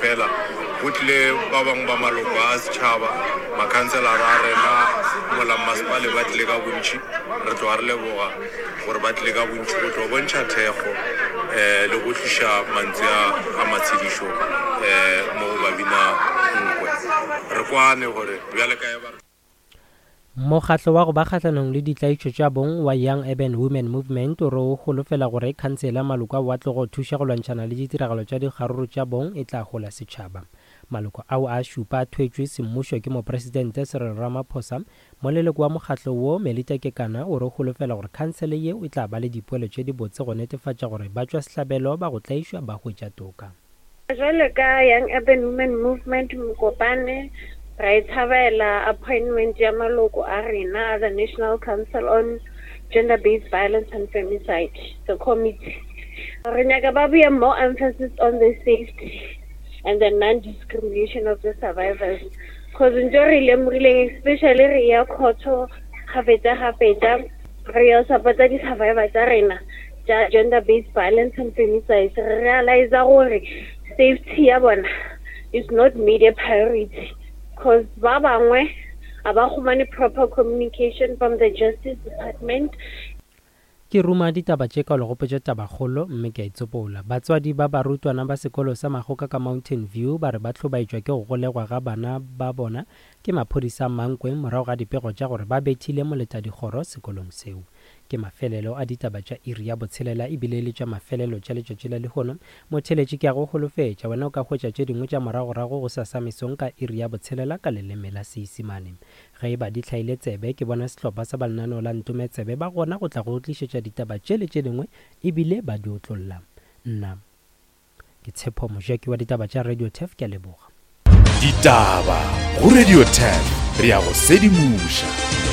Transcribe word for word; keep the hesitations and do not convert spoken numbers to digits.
fela, go tlile ba bangwe ba maloko a setšhaba, makhanselara a rena mola mmasepale ba tlile ka bontši. Re tloga re leboga gore ba tlile ka bontši go tlo bontšha thekgo um le go tliša mantswe a a matshedišo um mo go babina nkwe. Re kwane gore bjale ka ba Mokgatlo wa go ba kgahlanong le ditlaišo tša bong wa Young Urban Women Movement o re o holofela gore khansele ya maloko ao a tlogo thuša go lwantšhana le ditiragalo tša dikgaruru tša bong e tla hola setšhaba. Maloko ao a šupa a thwetšwe semmušo ke mopresidente Cyril Ramaphosa. Moleloko wa mokgatlo wo Melita Kekana o re o holofela gore khansele yeo e tla ba le dipoelo tše dibotse go netefatša gore batšwasehlabelo ba go tlaišwa ba hwetša toka. Jwale ka Young Urban Women Movement Mokopane, ra e thabela appointment ya maloko a rena a the National Council on Gender-Based Violence and Femicide, the committee. Re nyaka ba beye more emphasis on the safety and the non-discrimination of the survivors, cause ntho re lemogileng, especially re ya court-o kgafetsa-kgafetsa, re ya support-a di-survivor tša rena tša gender-based violence and femicide, re realize gore safety ya bona is not made a priority, cause ba bangwe a ba humane proper communication from the justice department. Ke ruma ditaba tše ka legopetša tabakgolo mme ke a itsopola. Batswadi ba barutwana ba sekolo sa Magoka ka Mountain View ba re ba hlobaetšwa ke go golegwa ga bana ba bona ke maphodisa a Mankweng morago ga dipego tša gore ba bethile moletadikgoro sekolong seo. Ke mafelelo a ditaba tša iri ya botshelela ebile le tša mafelelo tša letšatši la lehono. Motheletši ke a go holofetša, wena o ka hwetša tše dingwe tša moragorago go sasa mesong ka iri ya botshelela ka leleme la Seisimane. Ge e ba di hlaile tsebe, ke bona sehlopha sa ba lenaneo la Ntome Tsebe ba gona go tla go tlišetša ditaba tše le tše dingwe ebile ba di otlolla. Nna ke Tshepo Mojaki wa ditaba tša Radio Turf, ke a leboga. Ditaba go Radio Turf, re ya go sedimoša.